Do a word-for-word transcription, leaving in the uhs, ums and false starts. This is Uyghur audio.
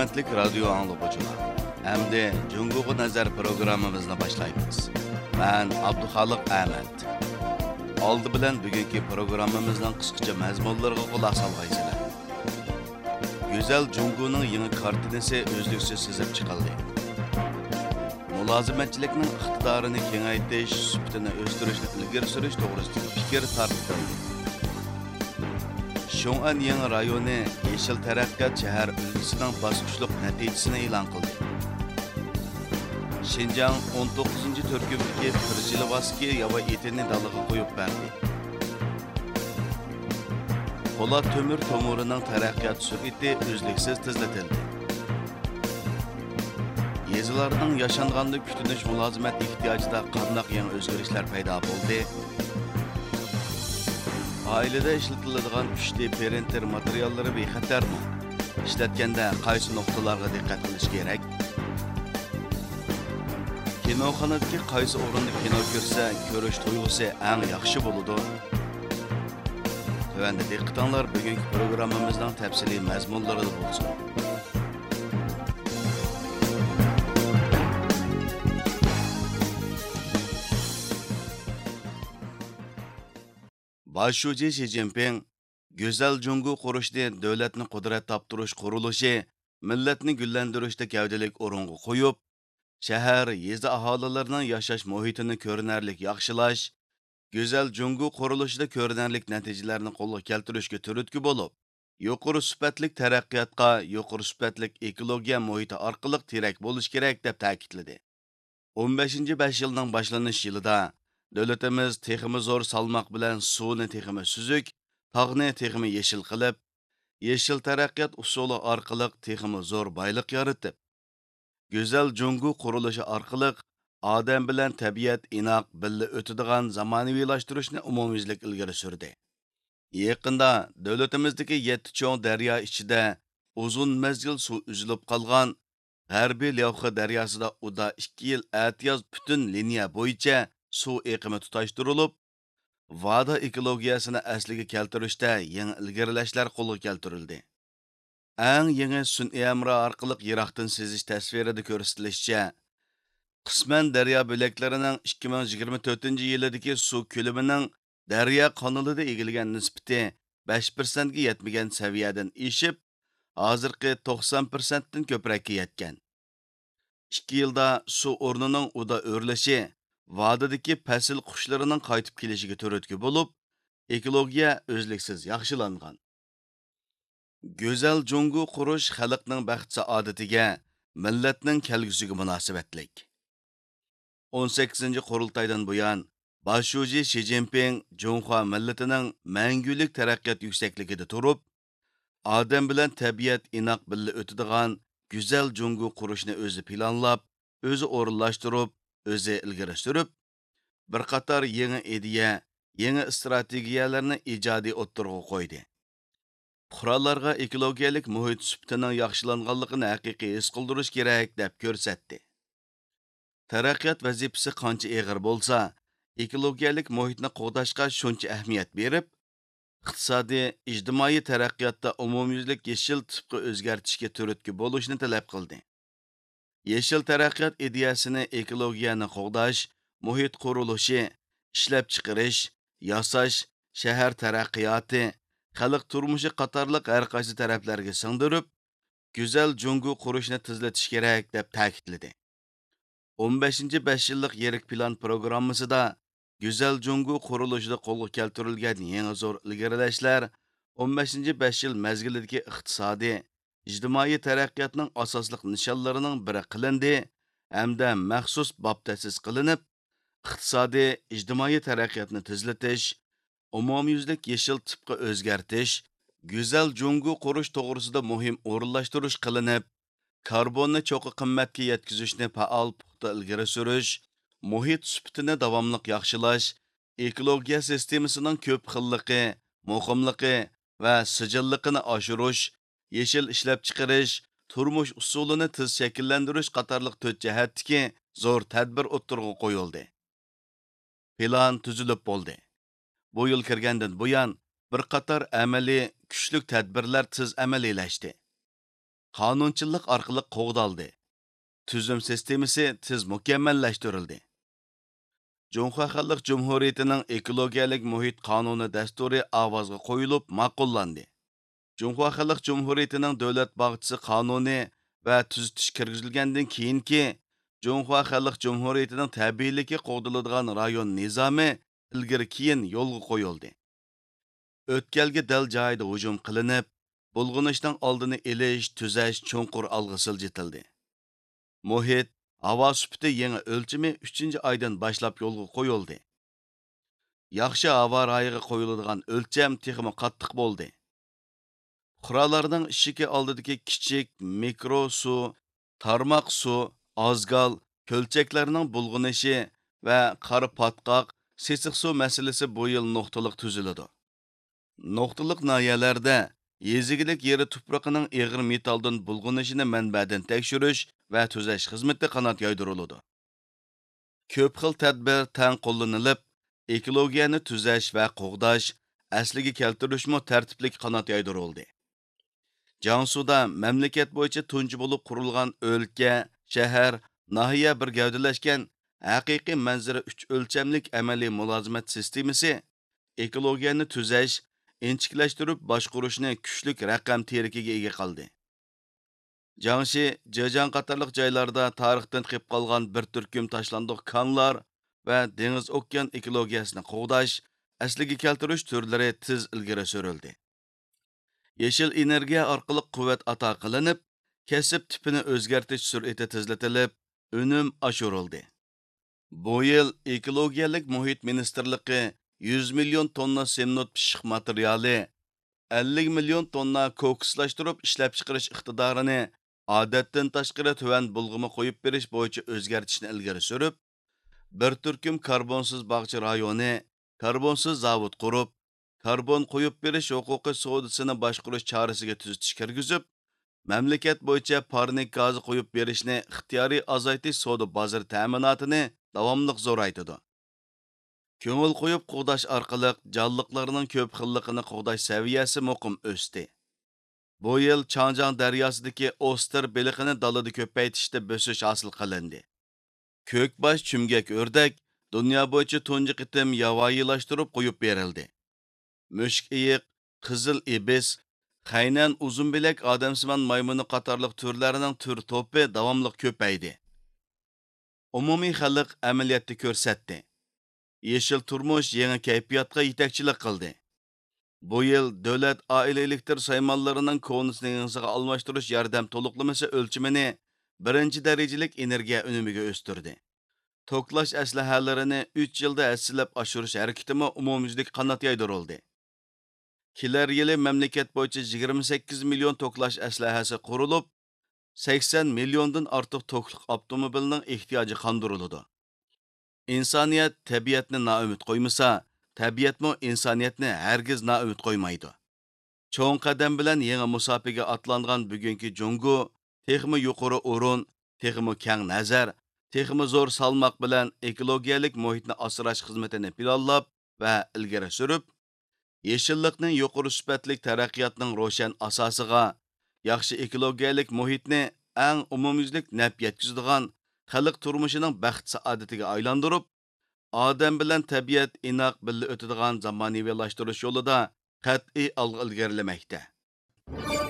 ھۆرمەتلىك رادىيو ئاڭلىغۇچىلار، ئەمدى جۇڭگوغا نەزەر پروگراممىمىزنى باشلايمىز. مەن ئابدۇخالىق ئەمەت. ئالدى بىلەن بۈگۈنكى پروگراممىمىزنىڭ قىسقىچە مەزمۇنلىرىغا قۇلاق سالغايسىلەر. گۈزەل جۇڭگونىڭ يېڭى كارتىنىسى ئۈزلۈكسىز سىزىپ چىقىلدى. مۇلازىمەتچىلىكنىڭ ئىقتىدارىنى كېڭەيتىش، سۈپىتىنى ئۆستۈرۈشنى ئىلگىرى سۈرۈش توغرىسىدىكى پىكىر تارقىتىلدى. شۇڭئەن يېڭى رايونى يېشىل تەرەققىيات شەھەر ئۈلگىسىنىڭ باسقۇچلۇق نەتىجىسىنى ئېلان قىلدى. شىنجاڭ ئون توققۇزىنچى تۈركۈمدىكى پىرژىلۋاسكىي ياۋا ئېتىنى دالىغا قويۇپ بەردى. پولات تۆمۈر تومۇرىنىڭ تەرەققىيات سۈرئىتى ئۈزلۈكسىز تېزلىتىلدى. يېزىلارنىڭ ياشانغاندا كۈتۈنۈش مۇلازىمەت ئېھتىياجىدا قانداق يېڭى ئۆزگىرىشلەر پەيدا بولدى؟ ئائىلىدە ئىشلىتىلىدىغان ئۈچ دى پرىنتېر ماتېرىياللىرى بىخەتەرمۇ؟ ئىشلەتكەندە قايسى نۇقتىلارغا دىققەت قىلىش كېرەك؟ كىنوخانىدىكى قايسى ئورۇندا كىنو كۆرسە، كۆرۈش تۇيغۇسى ئەڭ ياخشى بولىدۇ؟ تۆۋەندە دىققىتىڭلار بۈگۈنكى پروگراممىمىزنىڭ تەپسىلىي مەزمۇنلىرىدا بولسۇن. باش شۇجى شى جىنپىڭ گۈزەل جۇڭگو قۇرۇشنى دۆلەتنى قۇدرەت تاپتۇرۇش قۇرۇلۇشى، مىللەتنى گۈللەندۈرۈشتە گەۋدىلىك ئورۇنغا قويۇپ، شەھەر، يېزا ئاھالىلىرىنىڭ ياشاش مۇھىتىنى كۆرۈنەرلىك ياخشىلاش، گۈزەل جۇڭگو قۇرۇلۇشىدا كۆرۈنەرلىك نەتىجىلەرنى قولغا كەلتۈرۈشكە تۈرتكە بولۇپ، يۇقىرى سۈپەتلىك تەرەققىياتقا يۇقىرى سۈپەتلىك ئېكولوگىيە مۇھىتى ئارقىلىق تىرەك بولۇش كېرەك، دەپ تەكىتلىدى. ئون بەشىنچى بەش يىلنىڭ باشلىنىش يىلىدا دۆلىتىمىز تېخىمۇ زور سالماق بىلەن سۇنى تېخىمۇ سۈزۈك، تاغنى تېخىمۇ يېشىل قىلىپ، يېشىل تەرەققىيات ئۇسۇلى ئارقىلىق تېخىمۇ زور بايلىق يارىتىپ، گۈزەل جۇڭگو قۇرۇلۇشى ئارقىلىق ئادەم بىلەن تەبىئەت ئىناق بىللە ئۆتىدىغان زامانىۋىلاشتۇرۇشنى ئومۇميۈزلۈك ئىلگىرى سۈردى. يېقىندا دۆلىتىمىزدىكى يەتتە چوڭ دەريا ئىچىدە ئۇزۇن مەزگىل سۇ ئۈزۈلۈپ قالغان غەربىي لياۋخې دەرياسىدا ئۇدا ئىككى يىل ئەتىياز پۈتۈن لىنىيە بويىچە سۇ ئېقىمى تۇتاشتۇرۇلۇپ، ۋادا ئېكولوگىيەسىنى ئەسلىگە كەلتۈرۈشتە يېڭى ئىلگىرىلەشلەر قولغا كەلتۈرۈلدى. ئەڭ يېڭى سۈنئىي ھەمراھ ئارقىلىق يىراقتىن سىزىش تەسۋىرىدە كۆرسىتىلىشىچە، قىسمەن دەريا بۆلەكلىرىنىڭ ئىككى مىڭ يىگىرمە تۆتىنچى يىلىدىكى سۇ كۆلىمىنىڭ دەريا قانىلىدا ئىگىلىگەن نىسبىتى بەش پىرسەنتكە يەتمىگەن سەۋىيەدىن ئېشىپ، ھازىرقى توقسان پىرسەنتتىن كۆپرەككە يەتكەن. ئىككى يىلدا سۇ ئورنىنىڭ ئۇدا ئۆرلىشى، ۋادىدىكى پەسىل قۇشلىرىنىڭ قايتىپ كېلىشىگە تۈرتكە بولۇپ، ئېكولوگىيە ئۈزلۈكسىز ياخشىلانغان. گۈزەل جۇڭگو قۇرۇش خەلقنىڭ بەخت-سائادىتىگە، مىللەتنىڭ كەلگۈسىگە مۇناسىۋەتلىك. ئون سەككىزىنچى قۇرۇلتايدىن بۇيان، باش شۇجى شى جىنپىڭ جۇڭخۇا مىللىتىنىڭ مەڭگۈلۈك تەرەققىيات يۈكسەكلىكىدە تۇرۇپ، ئادەم بىلەن تەبىئەت ئىناق بىللە ئۆتىدىغان گۈزەل جۇڭگو قۇرۇشنى ئۆزى پىلانلاپ، ئۆزى ئورۇنلاشتۇرۇپ، ئۆزى ئىلگىرى سۈرۈپ، بىر قاتار يېڭى ئىدىيە، يېڭى ئىستراتېگىيەلەرنى ئىجادىي ئوتتۇرىغا قويدى. پۇقرالارغا ئېكولوگىيەلىك مۇھىت سۈپىتىنىڭ ياخشىلانغانلىقىنى ھەقىقىي ھېس قىلدۇرۇش كېرەك، دەپ كۆرسەتتى. تەرەققىيات ۋەزىپىسى قانچە ئېغىر بولسا، ئېكولوگىيەلىك مۇھىتنى قوغداشقا شۇنچە ئەھمىيەت بېرىپ، ئىقتىسادىي، ئىجتىمائىي تەرەققىياتتا ئومۇميۈزلۈك يېشىل تىپقا ئۆزگەرتىشكە تۈرتكە بولۇشنى تەلەپ قىلدى. يېشىل تەرەققىيات ئىدىيەسىنى ئېكولوگىيەنى قوغداش، مۇھىت قۇرۇلۇشى، ئىشلەپچىقىرىش، ياساش، شەھەر تەرەققىياتى، خەلق تۇرمۇشى قاتارلىق ھەر قايسى تەرەپلەرگە سىڭدۈرۈپ، گۈزەل جۇڭگو قۇرۇشنى تېزلىتىش كېرەك، دەپ تەكىتلىدى. ئون بەشىنچى بەش يىللىق يىرىك پىلان پروگراممىسىدا گۈزەل جۇڭگو قۇرۇلۇشىدا قولغا كەلتۈرۈلگەن يېڭى زور ئىلگىرىلەشلەر ئون بەشىنچى بەش يىل مەزگىلىدىكى ئىقتىسادىي، ئىجتىمائىي تەرەققىياتنىڭ ئاساسلىق نىشانلىرىنىڭ بىرى قىلىندى ھەمدە مەخسۇس باب تەسىس قىلىنىپ، ئىقتىسادىي، ئىجتىمائىي تەرەققىياتنى تېزلىتىش، ئومۇميۈزلۈك يېشىل تىپقا ئۆزگەرتىش، گۈزەل جۇڭگو قۇرۇش توغرىسىدا مۇھىم ئورۇنلاشتۇرۇش قىلىنىپ، كاربوننى چوققا قىممەتكە يەتكۈزۈشنى پائال پۇختا ئىلگىرى سۈرۈش، مۇھىت سۈپىتىنى داۋاملىق ياخشىلاش، ئېكولوگىيە سىستېمىسىنىڭ كۆپ خىللىقى، مۇقىملىقى ۋە سىجىللىقىنى ئاشۇرۇش، يېشىل ئىشلەپچىقىرىش، تۇرمۇش ئۇسۇلىنى تېز شەكىللەندۈرۈش قاتارلىق تۆت جەھەتتىكى زور تەدبىر ئوتتۇرىغا قويۇلدى. پىلان تۈزۈلۈپ بولدى. بۇ يىل كىرگەندىن بۇيان، بىر قاتار ئەمەلىي، كۈچلۈك تەدبىرلەر تېز ئەمەلىيلەشتى. قانۇنچىللىق ئارقىلىق قوغدالدى. تۈزۈم سىستېمىسى تېز مۇكەممەللەشتۈرۈلدى. جۇڭخۇا خەلق جۇمھۇرىيىتىنىڭ ئېكولوگىيەلىك مۇھىت قانۇنى دەستۇرى ئاۋازغا قويۇلۇپ ماقۇللاندى. جۇڭخۇا خەلق جۇمھۇرىيىتىنىڭ دۆلەت باغچىسى قانۇنى ۋە تۈزىتىش كىرگۈزۈلگەندىن كېيىنكى جۇڭخۇا خەلق جۇمھۇرىيىتىنىڭ تەبىئىيلىكى قوغدىلىدىغان رايون نىزامى ئىلگىرى كېيىن يولغا قويۇلدى. ئۆتكەلگە دەل جايىدا ھۇجۇم قىلىنىپ، بۇلغىنىشنىڭ ئالدىنى ئېلىش، تۈزەش چوڭقۇر ئالغا سىلجىتىلدى. مۇھىت، ھاۋا سۈپىتى يېڭى ئۆلچىمى ئۈچىنچى ئايدىن باشلاپ يولغا قويۇلدى. ياخشى ھاۋا رايىغا قويۇلىدىغان ئۆلچەم تېخىمۇ قاتتىق بولدى. پۇقرالارنىڭ ئىشىكى ئالدىدىكى كىچىك، مىكرو سۇ، تارماق سۇ، ئازگال، كۆلچەكلەرنىڭ بۇلغىنىشى ۋە قارا پاتقاق، سېسىق سۇ مەسىلىسى بۇ يىل نۇقتىلىق تۈزۈلىدۇ. نۇقتىلىق ناھىيەلەردە يېزا ئىگىلىك يېرى تۇپرىقىنىڭ ئېغىر مېتالدىن بۇلغىنىشىنى مەنبەدىن تەكشۈرۈش ۋە تۈزەش خىزمىتى قانات يايدۇرۇلىدۇ. كۆپ خىل تەدبىر تەڭ قوللىنىلىپ، ئېكولوگىيەنى تۈزەش ۋە قوغداش، ئەسلىگە كەلتۈرۈشمۇ تەرتىپلىك قانات يايدۇرۇلدى. جياڭسۇدا مەملىكەت بويىچە تۇنجى بولۇپ قۇرۇلغان ئۆلكە، شەھەر، ناھىيە بىر گەۋدىلەشكەن ھەقىقىي مەنزىرە ئۈچ ئۆلچەملىك ئەمەلىي مۇلازىمەت سىستېمىسى ئېكولوگىيەنى تۈزەش، ئىنچىكىلەشتۈرۈپ باشقۇرۇشنى كۈچلۈك رەقەم تىرىكىگە ئىگە قىلدى. جياڭشى، جېجياڭ قاتارلىق جايلاردا تارىختىن قېلىپ قالغان بىر تۈركۈم تاشلاندۇق كانلار ۋە دېڭىز ئوكيان ئېكولوگىيەسىنى قوغداش، ئەسلىگە كەلتۈرۈش تۈرلىرى تېز ئىلگىرى سۈرۈلدى. يېشىل ئېنېرگىيە ئارقىلىق قۇۋۋەت ئاتا قىلىنىپ، كەسىپ تىپىنى ئۆزگەرتىش سۈرئىتى تېزلىتىلىپ، ئۈنۈم ئاشۇرۇلدى. بۇ يىل ئېكولوگىيەلىك مۇھىت مىنىستىرلىقى يۈز مىليون توننا سېمنوت پىششىق ماتېرىيالى، ئەللىك مىليون توننا كوكۇسلاشتۇرۇپ ئىشلەپچىقىرىش ئىقتىدارىنى ئادەتتىن تاشقىرى تۆۋەن بۇلغىما قويۇپ بېرىش بويىچە ئۆزگەرتىشنى ئىلگىرى سۈرۈپ، بىر تۈركۈم كاربونسىز باغچە رايونى، كاربونسىز زاۋۇت قۇرۇپ، كاربون قويۇپ بېرىش ھوقۇقى سودىسىنى باشقۇرۇش چارىسىگە تۈزىتىش كىرگۈزۈپ، مەملىكەت بويىچە پارنىك گازى قويۇپ بېرىشنى ئىختىيارىي ئازايتىش سودا بازىرى تەمىناتىنى داۋاملىق زورايتىدۇ. كۆڭۈل قويۇپ قوغداش ئارقىلىق جانلىقلارنىڭ كۆپ خىللىقىنى قوغداش سەۋىيەسى مۇقىم ئۆستى. بۇ يىل چاڭجياڭ دەرياسىدىكى ئوستېر بېلىقىنى دالىدا كۆپەيتىشتە بۆسۈش ھاسىل قىلىندى. كۆكباش چۈمگەك ئۆردەك دۇنيا بويىچە تۇنجى قېتىم ياۋايىلاشتۇرۇپ قويۇپ بېرىلدى. مۈشۈك ئېيىق، قىزىل ئىبىس، خەينەن ئۇزۇن بىلەك ئادەمسىمان مايمۇنى قاتارلىق تۈرلەرنىڭ تۈر توپى داۋاملىق كۆپەيدى. ئومۇمىي خەلق ئەمەلىيەتتە كۆرسەتتى. يېشىل تۇرمۇش يېڭى كەيپىياتقا يېتەكچىلىك قىلدى. بۇ يىل دۆلەت ئائىلە ئېلېكتر سايمانلىرىنىڭ كونىسىنى يېڭىسىغا ئالماشتۇرۇش ياردەم تولۇقلىمىسى ئۆلچىمىنى بىرىنچى دەرىجىلىك ئېنېرگىيە ئۈنۈمىگە ئۆستۈردى. توكلاش ئەسلىھەلىرىنى ئۈچ يىلدا ھەسسىلەپ ئاشۇرۇش ھەرىكىتىمۇ ئومۇميۈزلۈك قانات يايدۇرۇلدى. كېلەر يىلى مەملىكەت بويىچە يىگىرمە سەككىز مىليون توكلاش ئەسلىھەسى قۇرۇلۇپ، سەكسەن مىليوندىن ئارتۇق توكلۇق ئاپتوموبىلنىڭ ئېھتىياجى قاندۇرۇلىدۇ. ئىنسانىيەت تەبىئەتنى نائۈمىد قويمىسا، تەبىئەتمۇ ئىنسانىيەتنى ھەرگىز نائۈمىد قويمايدۇ. چوڭ قەدەم بىلەن يېڭى مۇساپىگە ئاتلانغان بۈگۈنكى جۇڭگو تېخىمۇ يۇقىرى ئورۇن، تېخىمۇ كەڭ نەزەر، تېخىمۇ زور سالماق بىلەن ئېكولوگىيەلىك مۇھىتنى ئاسراش خىزمىتىنى پىلانلاپ ۋە ئىلگىرى سۈرۈپ، يېشىللىقنى يۇقىرى سۈپەتلىك تەرەققىياتنىڭ روشەن ئاساسىغا، ياخشى ئېكولوگىيەلىك مۇھىتنى ئەڭ ئومۇميۈزلۈك نەپ يەتكۈزىدىغان خەلق تۇرمۇشىنىڭ بەخت-سائادىتىگە ئايلاندۇرۇپ، ئادەم بىلەن تەبىئەت ئىناق بىللە ئۆتىدىغان زامانىۋىلاشتۇرۇش يولىدا قەتئىي ئالغا ئىلگىرىلىمەكتە.